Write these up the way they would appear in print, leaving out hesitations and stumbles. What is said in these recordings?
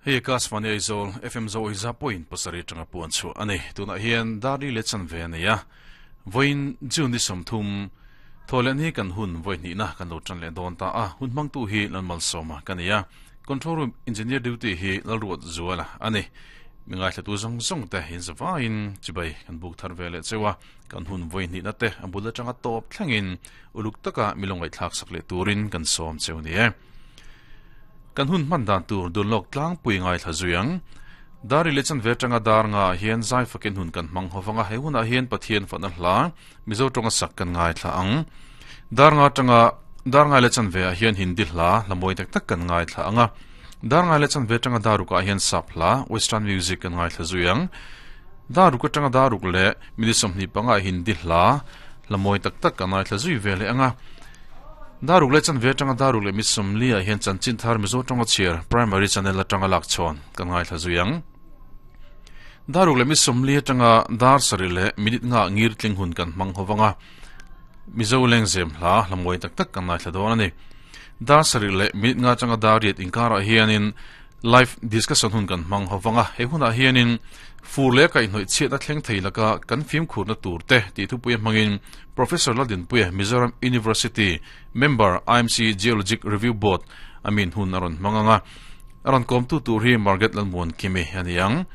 Hei Akashvani Aizawl FM Zo Iza point pasarih atanga puan chhuah a ni. Tunah hian Darli leh chanve a nei a. Vawiin June ni 30 Thawhlen hi kan hun vawi hnihna kan lo tan leh dawn ta a. Hun hmangtu hi Lalmalsawma ka ni a. Control room engineer duty hi Lalruat Zuala a ni. Mi ngaithlatu zawng zawng te inzavaiin chibai kan buk thar ve leh cheu a. Kan hun vawi hnihna te a bul atanga tawp thlengin uluk taka mi lo ngaihthlak sak leh turin kan sawm cheu ni e. Kan hun hman dan tur dun lawk tlangpui ngaithla zui ang. Dar i leh chanve atanga dar nga ah hian zai fakin hun kan hmang ho vang a, he hunah hian Pathian fatna hla Mizo tawnga sak kan ngaithla ang. Dar nga atanga dar ngai leh chanve ah hian Hindi hla hla mawi tak tak kan ngaithla ang a. Dar ngai leh chanve atanga dar ruk ah hian sap hla, Western music, kan ngaithla zui ang. Dar ruk atanga dar ruk leh minute 25 ah Hindi hla hla mawi tak tak kan ngaithla zui ve leh ang a. Dar ruk leh chanve atanga dar ruk leh mi 40 ah hian chanchin thar Mizo tawnga chhiar Primary Channel atanga lak chhawn kan ngaithla zui ang. Dar ruk leh mi 40 atanga dar sarih leh minute nga ngir tling hun kan hmang ho vang a. Mizo lengzem hla hla mawi tak tak kan ngaithla dawn a ni. Dar sarih leh minute nga atanga dar riat inkarah hianin live discussion hun kan hmang ho vang a. He hunah hianin fur leh kaihhnawih chhiatna thleng thei laka kan fimkhurna tur te tih thupuia hmangin Professor Laldinpuia Mizoram University Member IMC Geologic Review Board a min hun a rawn hmang ang a. A rawn kawmtu tur hi Margaret Lalmuankimi a ni ang.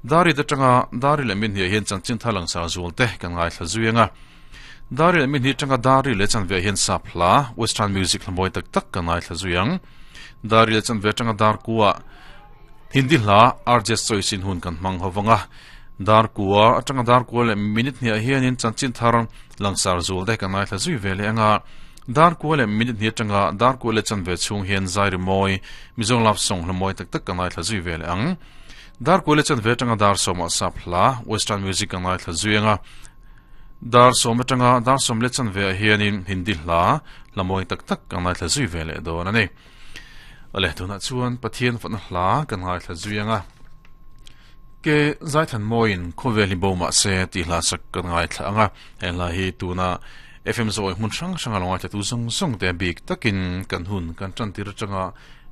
Dari te atanga Dari leh Minhniah hian chanchin thar langsar zual te kan ngaithla zui ang a. Dari leh Minhni atanga Dari leh chanve hian sap hla, Western music hla mawi tak tak kan ngaithla zui ang. Dari leh chanve atanga dar kua Hindi hla RJ Choice in hun kan hmang ho vang a. Dar kua atanga dar kua leh minute hniah hianin chanchin thar langsar zual te kan ngaithla zui ve leh ang a. Dar kua leh minute hnih atanga dar kua leh chanve chhung hian zai ri mawi, Mizo love song hla mawi tak tak kan ngaithla zui ve leh ang. Dar kua leh chanve atanga dar sawmah sap hla, Western music, kan ngaithla zui ang a. Dar sawm atanga dar sawm leh chanve ah hianin Hindi hla, hla mawi tak tak kan ngaithla zui ve leh dawn a ni. Awle, tunah chuan Pathian fatna hla kan ngaithla zui ang a. Ke Zaithan Mawiin khawvel hi bo mah se tih hla sak kan ngaithla ang a. He hla hi tuna FM zawi hmun hrang hranga lo ngaithlatu zawng zawng te bik takin kan hun kan tan tir atanga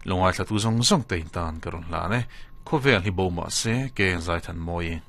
lo ngaithlatu zawng zawng te in tan ka rawn hlan e. Khawvel hi bo mah se ke Zaithan Mawi.